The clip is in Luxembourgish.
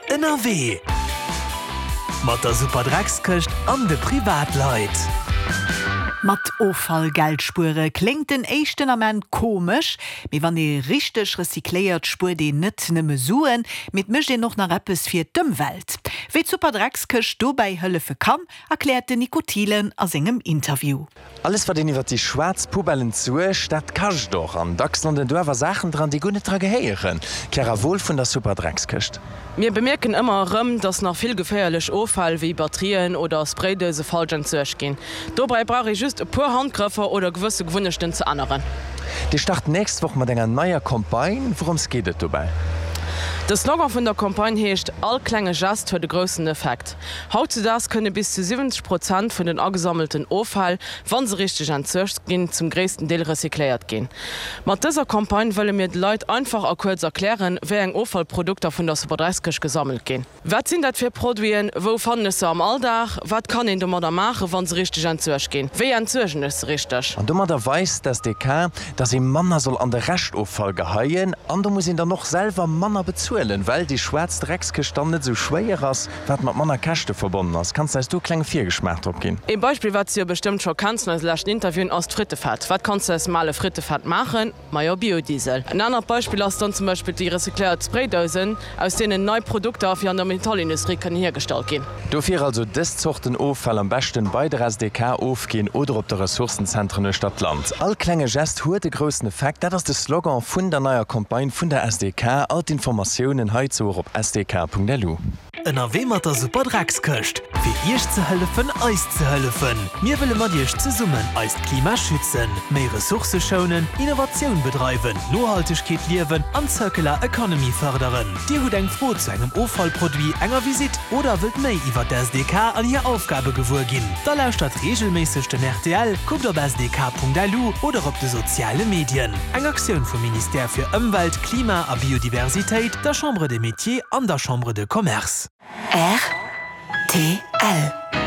Ënnerwee mat der Superdreckskëscht an de Privatleit. Mat Offall Geld spuere kléngt den éischten Ament komesch, mee wann ee richteg recycléiert, spuert een net nëmme Suen, mee et mécht een och nach eppes fir d'Ëmwelt. Wéi d'Superdreckskëscht dobäi hëllefe kann, erkläert den Nico Thielen a sengem Interview. Alles wat een iwwert déi schwaarz Poubellen zuecht, dat kascht och. An dacks landen do awer Saachen dran, déi guer net dra gehéieren. Chiara Wohl vun der Superdreckskëscht. Mir bemierken ëmmer erëm, dass nach vill geféierlech Offäll wéi Batterien oder Spraydouse falsch entsuergt ginn. Dobäi brauch ee just e puer Handgrëffer oder gewësse Gewunnechten ze änneren. Dir start nächst Woch mat enger neier Campagne. Wourëms geet et dobäi? De Slogan vun der Campagne heescht All klenge Gest huet e groussen Effekt. Hautzedaags kënne bis zu 70 Prozent vun den agesammelten Offäll, wa se richteg entsuergt ginn, zum gréissten Deel recycléiert ginn. Mat dëser Campagne wëlle mir de Leit einfach a kuerz erklären, wéi eng Offallprodukter vun der Superdreckskëscht gesammelt ginn. Wat sinn dat fir Produiten? Wou fannen ech se am Alldag? Wat kann een domadder maachen, wa se richteg entsuergt ginn? Wéi entsuergen ech se richteg? An domadder weist d'SDK, dass ee manner soll an de Reschtoffall geheien. An do muss een dann och selwer manner bezuelen, well déi schwaarz Dreckskëscht dann net esou schwéier ass. Wat mat manner Käschte verbonnen ass. Kanns de eis do e klenge Virgeschmaach drop ginn? Ee Beispill, wat s de jo bestëmmt scho kenns vun eise leschten Interviewen, ass d'Frittefett. Wat kanns de aus dem ale Frittefett maachen? Majo, Biodiesel. En anert Beispill ass dann zum Beispill déi recycléiert Spraydousen, aus deenen nei Produkter fir an der Metallindustrie kënnen hiergestallt ginn. Dofir also dës Zorten Offall am beschten bei der SDK ofginn oder op de Ressourcenzentren uechter d'Land. All klenge Gest huet e groussen Effekt, dat ass de Slogan vun der neier Campagne vun der SDK. All d'Informatiounen heizou och op sdk.lu. Ënnerwee mat der Super Dreckskëscht, fir Iech ze hëllefen, eis ze hëllefen. Mir wëlle mat Iech zesummen eist Klima schützen, méi Ressourcë schounen, Innovatioun bedreiwen, Nohaltegkeet liewen an Circular Economy fërderen. Dir hutt eng Fro zu engem Offallproduit, enger Visitt oder wëllt méi iwwer d'SDK an hir Aufgabe gewuer ginn? Da lauschtert reegelméisseg den rtl, kuckt op sdk.lu oder op de soziale Medien. Eng Aktioun vum Ministère fir Ëmwelt, Klima a Biodiversitéit, der Chambre des Métiers an der Chambre de Commerce. Rtl.